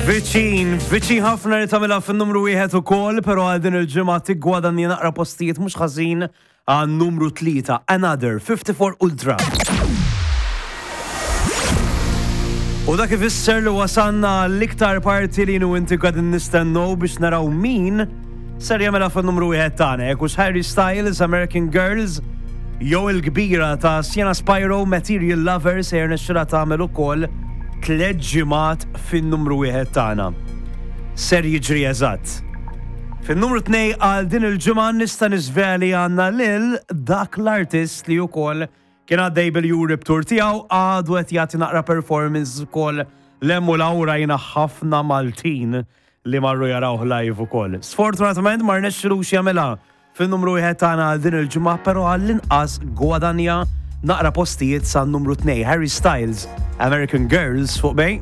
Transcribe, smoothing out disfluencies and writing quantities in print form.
Viċin, viċin ħafna li tagħmilha fin-numru wieħed ukoll, però għal din il-ġimgħa tiggwadanja naqra postijiet mhux ħażin għan numru tlieta, Another 54 Ultra. U dak ifisser li wasanna l-iktar parti li nu inti qegħdin nistennew biex naraw min ser jagħmilha fin-numru wieħed tagħna, jekk hux Harry Styles, American Girls, jew il-kbira ta' Sienna Spyro, Material Lover se jirnexxilha tagħmel ukoll tlett ġimgħat fin-numru wieħed tagħna. Ser jiġri eżatt. Fin-numru tnej għal din il-ġimgħa nista' niżveli għandna lil dak l-artist li wkoll kien għaddej bil-Europe Tour tiegħu għadu qed jagħti naqra performance ukoll 'l hemm u 'l hawn rajna ħafna Maltin li marru jarawh live ukoll. Sfortunatament ma rnexxilux jagħmilha fin-numru wieħed tagħna għal din il-ġimgħa, però għall-inqas gwadanja naqra postijiet sa numru 2 Harry Styles, American Girls fuq bej.